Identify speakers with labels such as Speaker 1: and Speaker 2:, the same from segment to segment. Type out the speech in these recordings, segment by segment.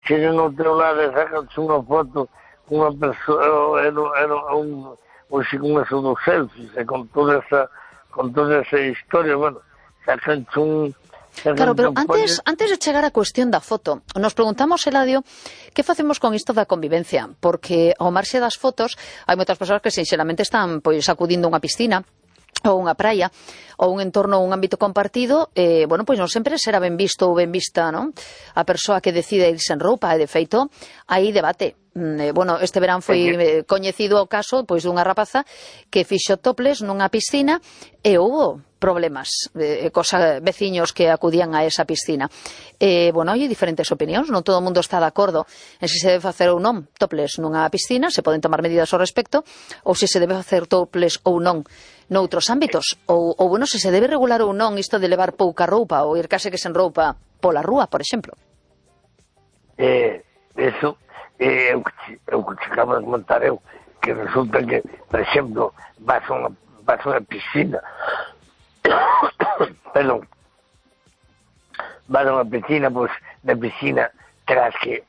Speaker 1: chegan ao teu lado e sacan-se unha foto con unha persoa, ou se con eso dos selfies, e con toda esa historia, bueno, sacan-se un...
Speaker 2: Claro, pero antes de chegar á cuestión da foto, nos preguntamos, Eladio, que facemos con isto da convivencia? Porque ao marxe das fotos, hai moitas persoas que sinxelamente están pois acudindo a unha piscina ou unha praia, ou un entorno, un ámbito compartido, bueno, pois non sempre será ben visto ou ben vista, non? A persoa que decide irse en roupa, e de feito, hai debate. Bueno, este verán foi coñecido o caso pois dunha rapaza que fixo topless nunha piscina e houbo problemas cos veciños que acudían a esa piscina. Bueno, hai diferentes opinións, non todo o mundo está de acordo en se debe facer ou non topless nunha piscina, se poden tomar medidas ao respecto, ou se debe facer topless ou non noutros ámbitos, ou bueno, se debe regular ou non isto de levar pouca roupa ou ir case que sen roupa pola rúa, por exemplo.
Speaker 1: Eso é o que te acabo de comentar eu, que resulta que, por exemplo, vas a unha piscina, perdón, vas a unha piscina, pois na piscina terás que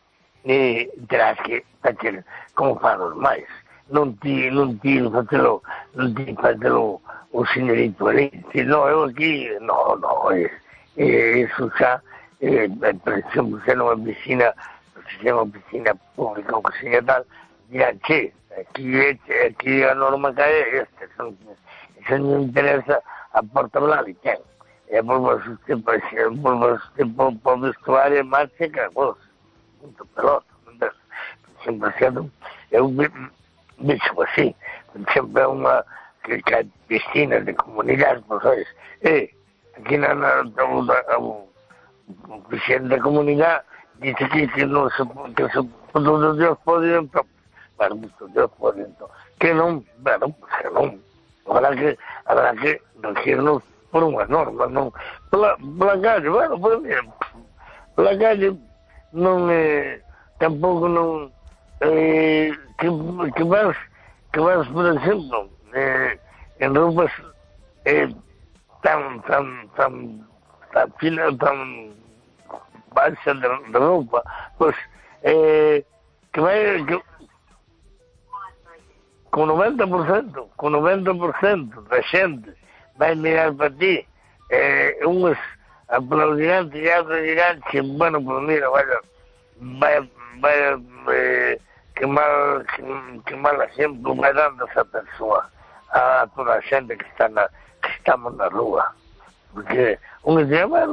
Speaker 1: facer como fan os máis, non ti facelo o señorito ali, non, eu aquí, non, eso xa, por exemplo, se non é unha piscina, se é unha piscina pública ou que seña tal, dirán, che, aquí a norma que é esta, eso non interesa a Porta Blali, ten. E por vestuario en marcha que vos, punto pelota, sempre sendo, eu vexo así, sempre é unha que hai piscinas de comunidade, pois, sabes, aquí na o presidente da comunidade dice que non se todos os dias poden, bueno, muchos dias poden, que non, bueno, que non, habrá que regirnos por unha norma, non, pola calle, bueno, pues bien, pola calle non tampouco non, que vas, por exemplo, en roupas tan baixa de roupa, pois que vai con 90% da xente vai mirar para ti, uns aplaudirán, e outros dirán que, bueno, pues mira, vaya que mal exemplo vai dando esa persoa a toda a xente que estamos na rúa. Porque un dice, bueno,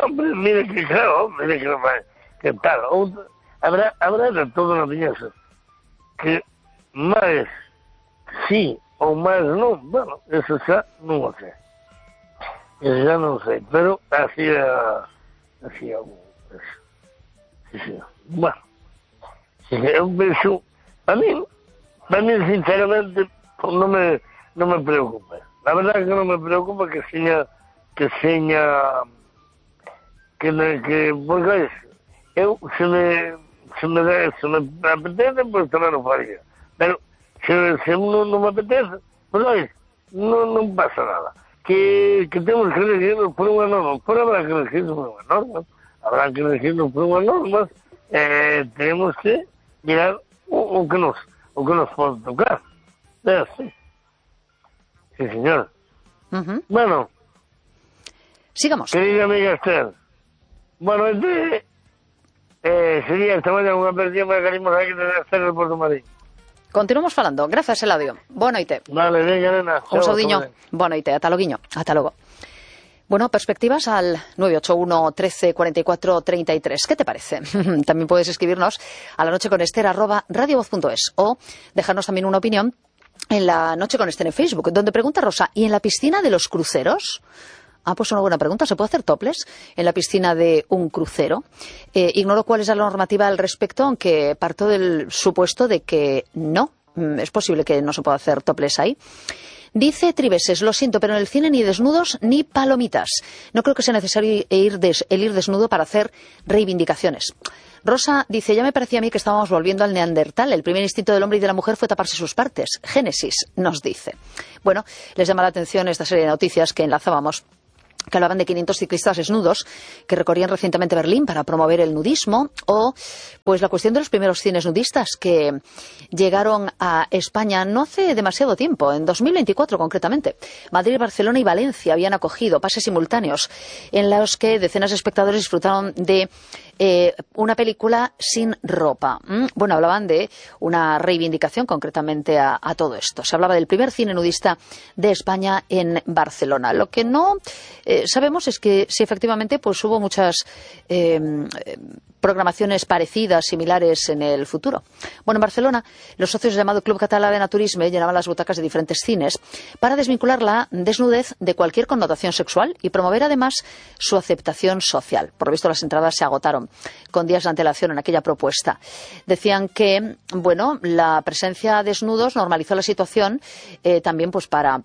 Speaker 1: hombre, mire que claro, mire que tal. Outro, habrá de todo na viñeza que máis sí ou máis non, bueno, eso xa non o sei. Eso xa non sei, pero así é algo. Sí. Bueno, eu penso, a mí sinceramente non me preocupa. La verdad que non me preocupa que porque eu se me apetece, pois tamén o faría, pero se non me apetece, pois non pasa nada, que temos que regirnos por unha norma, habrá que regirnos por unha norma, tenemos que mirar o que nos pode tocar, sí, señor. Bueno,
Speaker 2: sigamos.
Speaker 1: Querida amiga Esther, bueno, sería esta mañana unha perdición para que animos aquí de Esther de Porto Marín.
Speaker 2: Continuamos falando. Grazas, Eladio. Boa noite.
Speaker 1: Vale, venga, nena.
Speaker 2: Un saudiño. Boa noite. Ata loguiño. Ata logo. Bueno, perspectivas al 981 13 44 33. ¿Qué te parece? También puedes escribirnos a lanocheconester@radiovoz.es o dejarnos también una opinión en La Noche con Esther en Facebook, donde pregunta Rosa, ¿y en la piscina de los cruceros? Pues una buena pregunta. ¿Se puede hacer topless en la piscina de un crucero? Ignoro cuál es la normativa al respecto, aunque parto del supuesto de que no. Es posible que no se pueda hacer topless ahí. Dice Triveses, lo siento, pero en el cine ni desnudos ni palomitas. No creo que sea necesario el ir desnudo para hacer reivindicaciones. Rosa dice, ya me parecía a mí que estábamos volviendo al neandertal. El primer instinto del hombre y de la mujer fue taparse sus partes. Génesis nos dice. Bueno, les llama la atención esta serie de noticias que enlazábamos que hablaban de 500 ciclistas desnudos que recorrían recientemente Berlín para promover el nudismo, o pues la cuestión de los primeros cines nudistas que llegaron a España no hace demasiado tiempo, en 2024 concretamente. Madrid, Barcelona y Valencia habían acogido pases simultáneos en los que decenas de espectadores disfrutaron de una película sin ropa. Bueno, hablaban de una reivindicación concretamente a todo esto. Se hablaba del primer cine nudista de España en Barcelona. Lo que no sabemos es que si efectivamente pues hubo muchas programaciones parecidas, similares en el futuro. Bueno, en Barcelona, los socios del llamado Club Català de Naturisme llenaban las butacas de diferentes cines para desvincular la desnudez de cualquier connotación sexual y promover además su aceptación social. Por lo visto, las entradas se agotaron con días de antelación en aquella propuesta. Decían que, bueno, la presencia de desnudos normalizó la situación también pues para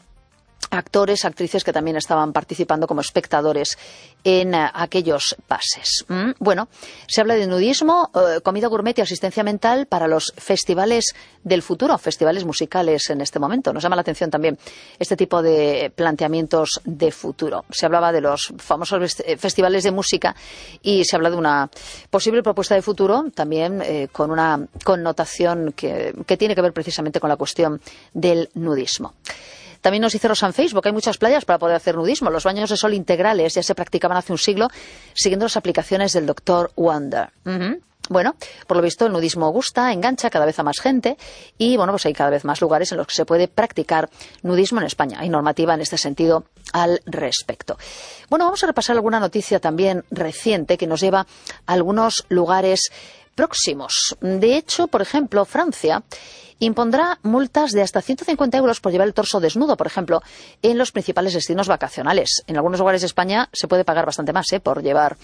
Speaker 2: actores, actrices que también estaban participando como espectadores en aquellos pases. Bueno, se habla de nudismo, comida gourmet y asistencia mental para los festivales del futuro, festivales musicales en este momento. Nos llama la atención también este tipo de planteamientos de futuro. Se hablaba de los famosos festivales de música y se habla de una posible propuesta de futuro también con una connotación que tiene que ver precisamente con la cuestión del nudismo. También nos dice Rosa en Facebook, hay muchas playas para poder hacer nudismo. Los baños de sol integrales ya se practicaban hace un siglo siguiendo las aplicaciones del Dr. Wonder. Bueno, por lo visto el nudismo gusta, engancha cada vez a más gente y bueno, pues hay cada vez más lugares en los que se puede practicar nudismo en España. Hay normativa en este sentido al respecto. Bueno, vamos a repasar alguna noticia también reciente que nos lleva a algunos lugares próximos. De hecho, por ejemplo, Francia impondrá multas de hasta 150 euros por llevar el torso desnudo, por ejemplo, en los principales destinos vacacionales. En algunos lugares de España se puede pagar bastante más por llevar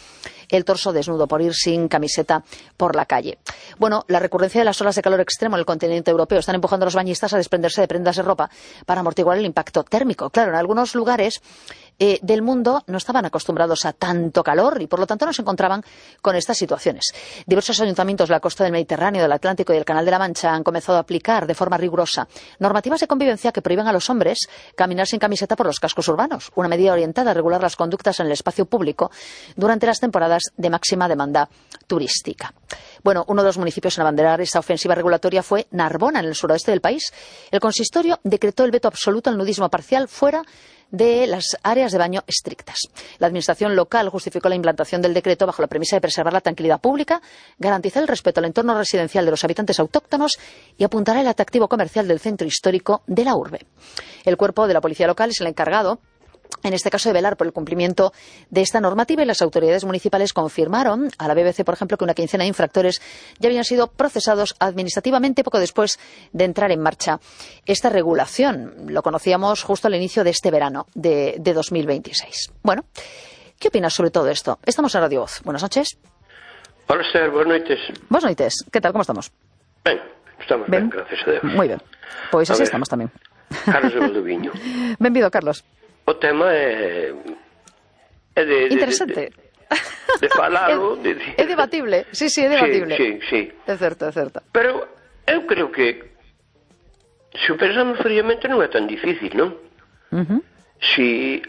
Speaker 2: el torso desnudo, por ir sin camiseta por la calle. Bueno, la recurrencia de las olas de calor extremo en el continente europeo están empujando a los bañistas a desprenderse de prendas de ropa para amortiguar el impacto térmico. Claro, en algunos lugares del mundo no estaban acostumbrados a tanto calor y por lo tanto no se encontraban con estas situaciones. Diversos ayuntamientos de la costa del Mediterráneo, del Atlántico y del Canal de la Mancha han comenzado a aplicar de forma rigurosa normativas de convivencia que prohíben a los hombres caminar sin camiseta por los cascos urbanos, una medida orientada a regular las conductas en el espacio público durante las temporadas de máxima demanda turística. Bueno, uno de los municipios en abanderar esta ofensiva regulatoria fue Narbona, en el suroeste del país. El consistorio decretó el veto absoluto al nudismo parcial fuera de las áreas de baño estrictas. La administración local justificó la implantación del decreto bajo la premisa de preservar la tranquilidad pública, garantizar el respeto al entorno residencial de los habitantes autóctonos y apuntar al atractivo comercial del centro histórico de la urbe. El cuerpo de la policía local es el encargado, en este caso, de velar por el cumplimiento de esta normativa, y las autoridades municipales confirmaron a la BBC, por ejemplo, que una quincena de infractores ya habían sido procesados administrativamente poco después de entrar en marcha esta regulación. Lo conocíamos justo al inicio de este verano de 2026. Bueno, ¿qué opinas sobre todo esto? Estamos en Radio Voz. Buenas noches.
Speaker 3: Hola, Esther, buenas noites.
Speaker 2: Buenas noites. ¿Qué tal? ¿Cómo estamos?
Speaker 3: Ben, estamos ben, gracias a Deus.
Speaker 2: Moi ben. Pois así estamos tamén.
Speaker 3: Carlos de Valdoviño.
Speaker 2: Benvido, Carlos.
Speaker 3: O tema é
Speaker 2: interesante.
Speaker 3: De falalo.
Speaker 2: É debatible. Sí, é debatible.
Speaker 3: Sí.
Speaker 2: É certo.
Speaker 3: Pero eu creo que se o pensamos fríamente non é tan difícil, non? Si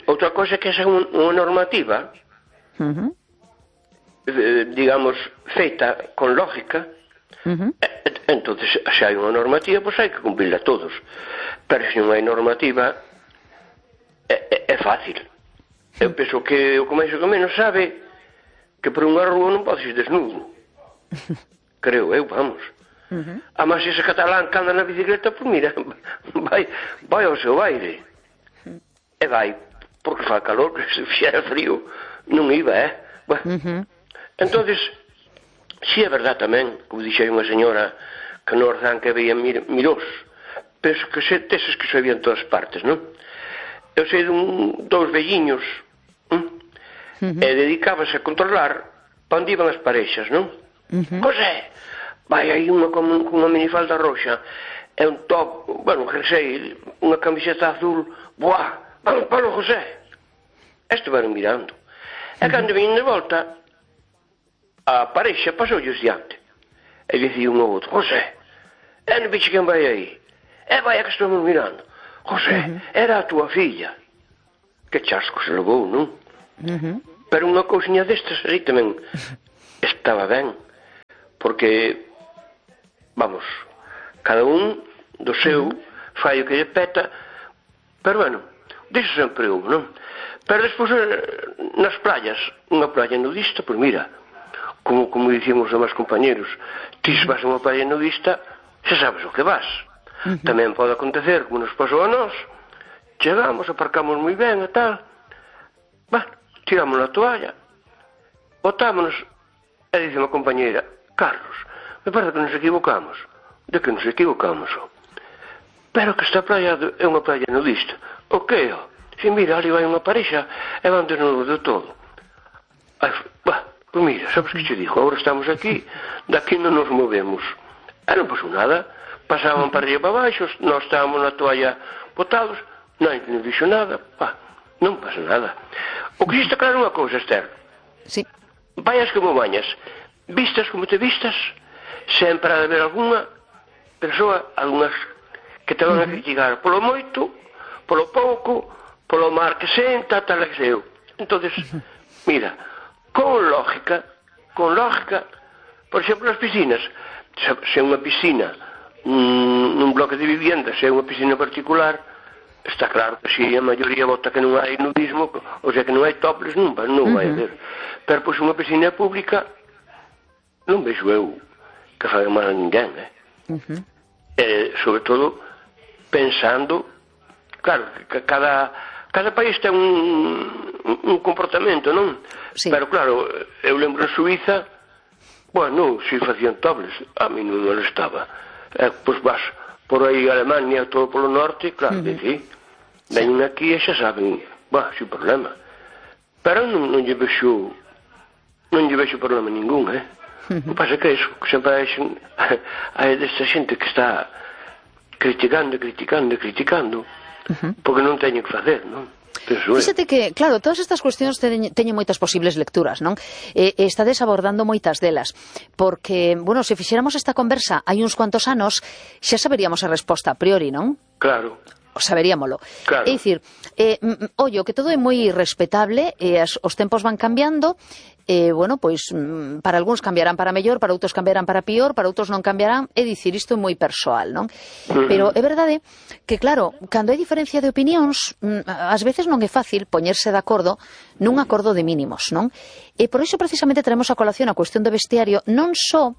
Speaker 3: outra cosa que é unha normativa digamos feita con lógica, entonces se hai unha normativa, pois hai que cumplirla todos. Pero se non hai normativa é fácil. Eu penso que o começo que menos sabe que por unha rúa non podes ir desnudo. Creo eu, vamos. Además, ese catalán que anda na bicicleta, pues mira, vai ao seu aire. E vai, porque fa calor, que se fixera frío non iba, Bueno, entonces, si é verdad tamén, como dixei unha señora que no Orzán que veía mirós, penso que teses que se veían todas partes, non? Eu sei dous velliños e dedicábase a controlar para onde iban as parexas, non? José, vai aí unha con unha minifalda roxa e un top, bueno, jersey, unha camiseta azul, buah, vamos para o José. Estiveron mirando. E cando vin de volta, a parexa pasoulles diante. E dicía un ao outro, José, non biche quen vai aí? Vai a que estamos mirando. José, era a túa filla. que chasco se levou, non? Pero unha cousiña destas aí tamén estaba ben, porque, vamos, cada un do seu fai o que lle peta, pero bueno, diso sempre houve, non? Pero despois nas playas, unha playa nudista, pois mira, como dicimos os meus compañeros, ti se vas a unha playa nudista, xa sabes o que vas. Tamén pode acontecer, como nos pasou a nós, chegamos, aparcamos moi ben e tal, tiramos a toalla, botámonos, e dice unha compañeira, Carlos, me parece que nos equivocamos. De que nos equivocamos? Pero que esta playa é unha playa nudista. O que? Si mira, ali vai unha parexa e van desnudos de todo. Pois mira, sabes que che digo, agora estamos aquí, daqui non nos movemos. E non pasou nada, pasaban para arriba para baixo, nós estábamos na toalla botados, non dixo nada, non pasa nada. O que está claro unha cousa, Esther.
Speaker 2: Sí.
Speaker 3: Vayas como bañas, vistas como te vistas, sempre ha de haber algunha persoa, algunhas que te van a criticar polo moito, polo pouco, polo mar que senta, tal que seu. Entonces, mira, con lógica, por exemplo, nas piscinas, se é unha piscina nun bloque de vivienda, se é unha piscina particular, está claro que se a maioría vota que non hai nudismo, ou sea que non hai topless, non vai haber. Pero pois unha piscina pública non vexo eu que faga mal a ninguén, sobre todo pensando, claro, que cada país ten un comportamento, non?
Speaker 2: Sí.
Speaker 3: Pero claro, eu lembro en Suiza, bueno, se facían topless, a mí non me molestaba. Pois vas por aí Alemania, todo polo norte, claro, veñen aquí e xa saben, sin problema. Pero non lle vexo problema ningún, O que pasa que iso, que sempre hai desta xente que está criticando, porque non teñen que facer, non?
Speaker 2: Fíxate que, claro, todas estas cuestións teñen moitas posibles lecturas, non? Estades abordando moitas delas, porque, bueno, se fixéramos esta conversa hai uns cuantos anos, xa saberíamos a resposta a priori, non?
Speaker 3: Claro.
Speaker 2: Saberíamolo.
Speaker 3: Claro.
Speaker 2: É dicir, ollo, que todo é moi respetable, os tempos van cambiando, bueno, pois, para algúns cambiarán para mellor, para outros cambiarán para pior, para outros non cambiarán, é dicir, isto é moi persoal, non? Pero é verdade que, claro, cando hai diferencia de opinións, ás veces non é fácil poñerse de acordo nun acordo de mínimos, non? E por iso precisamente traemos a colación a cuestión do vestiario, non só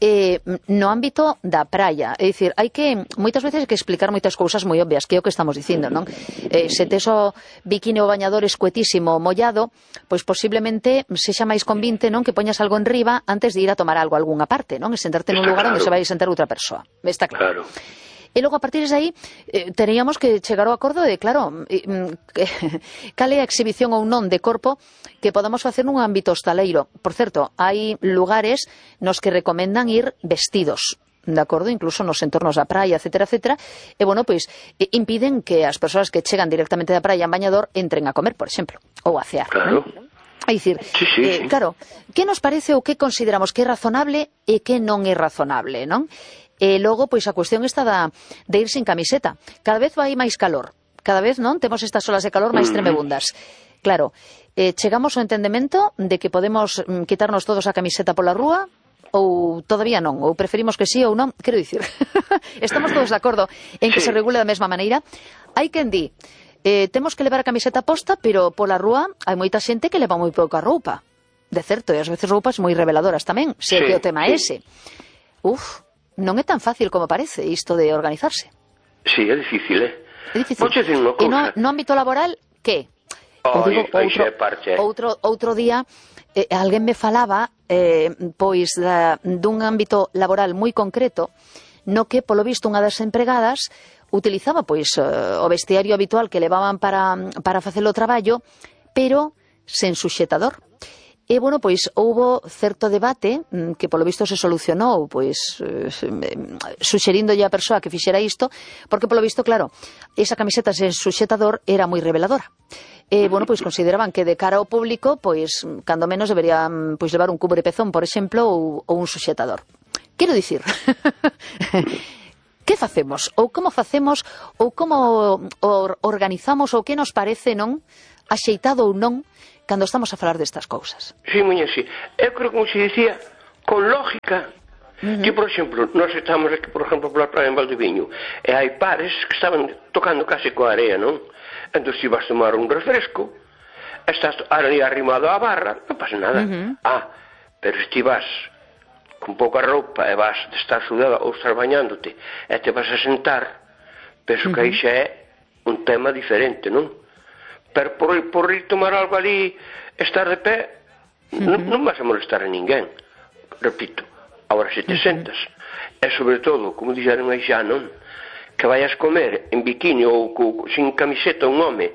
Speaker 2: no ámbito da praia, é dicir, hai que moitas veces que explicar moitas cousas moi obvias, que é o que estamos dicindo, non? Se tes o bikini ou bañador escuetísimo mollado, pois posiblemente sexa máis convinte, non, que poñas algo en riba antes de ir a tomar algo a algunha parte, non? E sentarte nun lugar onde se vai sentar outra persoa. Está claro. E logo, a partir de aí, teríamos que chegar ao acordo de, claro, cal é a exhibición ou non de corpo que podamos facer nun ámbito hostaleiro. Por certo, hai lugares nos que recomendan ir vestidos, de acordo, incluso nos entornos da praia, etcétera, etcétera, e, bueno, pois, impiden que as persoas que chegan directamente da praia en bañador entren a comer, por exemplo, ou a cear.
Speaker 3: Claro.
Speaker 2: É dicir, claro, que nos parece ou que consideramos que é razonable e que non é razonable, non? E logo, pois, a cuestión está de ir sin camiseta. Cada vez vai máis calor. Cada vez, non? Temos estas olas de calor máis tremebundas. Claro, chegamos ao entendemento de que podemos quitarnos todos a camiseta pola rúa ou todavía non, ou preferimos que sí ou non. Quero dicir, estamos todos de acordo en que se regule da mesma maneira. Hai quen di, temos que levar a camiseta posta, pero pola rúa hai moita xente que leva moi pouca roupa. De certo, e ás veces roupas moi reveladoras tamén, se que o tema é ese. Non é tan fácil como parece isto de organizarse.
Speaker 3: Sí, é difícil,
Speaker 2: É difícil. E no ámbito laboral, que? Outro día, alguén me falaba, pois, dun ámbito laboral moi concreto, no que, polo visto, unha das empregadas utilizaba, pois, o vestiario habitual que levaban para facer o traballo, pero sen suxetador. E, bueno, pois, houbo certo debate que, polo visto, se solucionou, pois, suxerindolle a persoa que fixera isto, porque, polo visto, claro, esa camiseta sen suxetador era moi reveladora. E, bueno, pois, consideraban que de cara ao público, pois, cando menos deberían, pois, levar un cubrepezón, por exemplo, ou un suxetador. Quero dicir, que facemos? Ou como facemos? Ou como organizamos? Ou que nos parece, non? Axeitado ou non, cando estamos a falar destas cousas?
Speaker 3: Sí, muña, sí. Eu creo, como se dicía, con lógica, que, por exemplo, nós estamos aquí, por exemplo, pola praia en Valdeviño, e hai pares que estaban tocando case coa area, non? Entón, se vas tomar un refresco, estás ali arrimado á barra, non pasa nada. Pero se ti vas con pouca roupa e vas de estar sudada ou estar bañándote e te vas a sentar, penso que aí xa é un tema diferente, non? Pero por ir tomar algo ali, estar de pé, non vas a molestar a ninguén. Repito, agora se te sentas, e sobre todo, como dixeron aí xa, non? Que vayas comer en biquini ou sin camiseta un home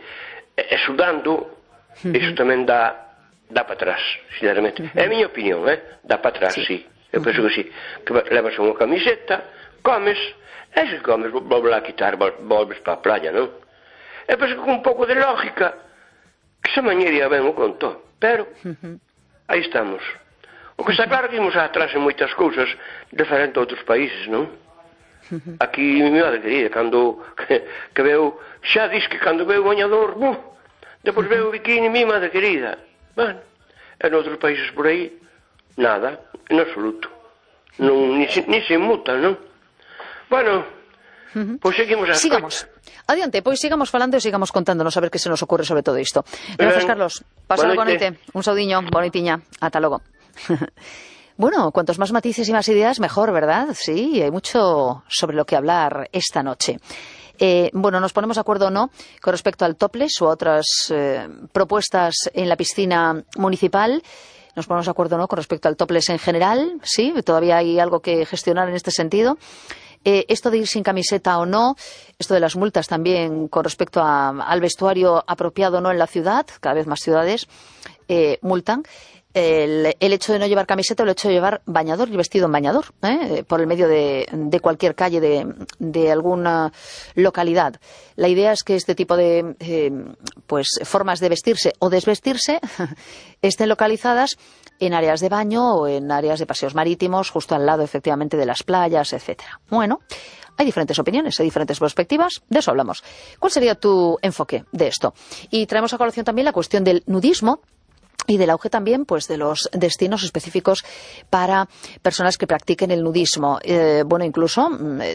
Speaker 3: e sudando, iso tamén dá para atrás, sinceramente. É a miña opinión, dá para atrás, sí. Eu penso que sí. Que levas unha camiseta, comes, e se comes, volves a quitar, volves para a playa, non? Eu penso que con un pouco de lógica, que se mañería ben o conto, pero aí estamos. O que está claro que imos atrás en moitas cousas diferentes a outros países, non? Aquí, mi madre querida, cando que veo, xa dis que cando veo o bañador, depois veo o biquini, mi madre querida. Bueno, en outros países por aí, nada, en absoluto. Ni se mutan, non? Bueno, pois seguimos a...
Speaker 2: Sigamos. Adiante, pois sigamos falando e sigamos contándonos a ver que se nos ocurre sobre todo isto. Gracias, Carlos. Pasad boa noite. Un saudiño, bonitiña. Ata logo. Bueno, cuantos más matices y más ideas, mejor, ¿verdad? Sí, hay mucho sobre lo que hablar esta noche. Bueno, nos ponemos de acuerdo o no con respecto al topless o a otras propuestas en la piscina municipal. Nos ponemos de acuerdo o no con respecto al topless en general. Sí, todavía hay algo que gestionar en este sentido. Esto de ir sin camiseta o no, esto de las multas también con respecto al vestuario apropiado o no en la ciudad, cada vez más ciudades multan. El hecho de no llevar camiseta o el hecho de llevar bañador y vestido en bañador, por el medio de cualquier calle de alguna localidad. La idea es que este tipo de pues formas de vestirse o desvestirse estén localizadas en áreas de baño o en áreas de paseos marítimos, justo al lado, efectivamente, de las playas, etcétera. Bueno, hay diferentes opiniones, hay diferentes perspectivas, de eso hablamos. ¿Cuál sería tu enfoque de esto? Y traemos a colación también la cuestión del nudismo y del auge también, pues, de los destinos específicos para personas que practiquen el nudismo. Bueno, incluso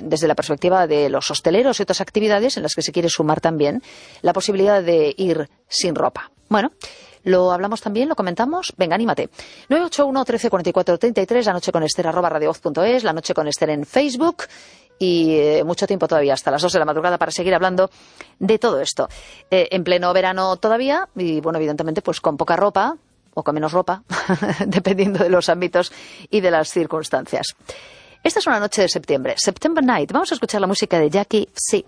Speaker 2: desde la perspectiva de los hosteleros y otras actividades en las que se quiere sumar también la posibilidad de ir sin ropa. Bueno, lo hablamos también, lo comentamos. Venga, anímate. 981 13 44 33, la noche con Esther @radiovoz.es, la noche con Esther en Facebook. Y mucho tiempo todavía, hasta las 2 de la madrugada, para seguir hablando de todo esto. En pleno verano todavía, y bueno, evidentemente, pues con poca ropa, o con menos ropa, dependiendo de los ámbitos y de las circunstancias. Esta es una noche de septiembre, September Night. Vamos a escuchar la música de Jackie C.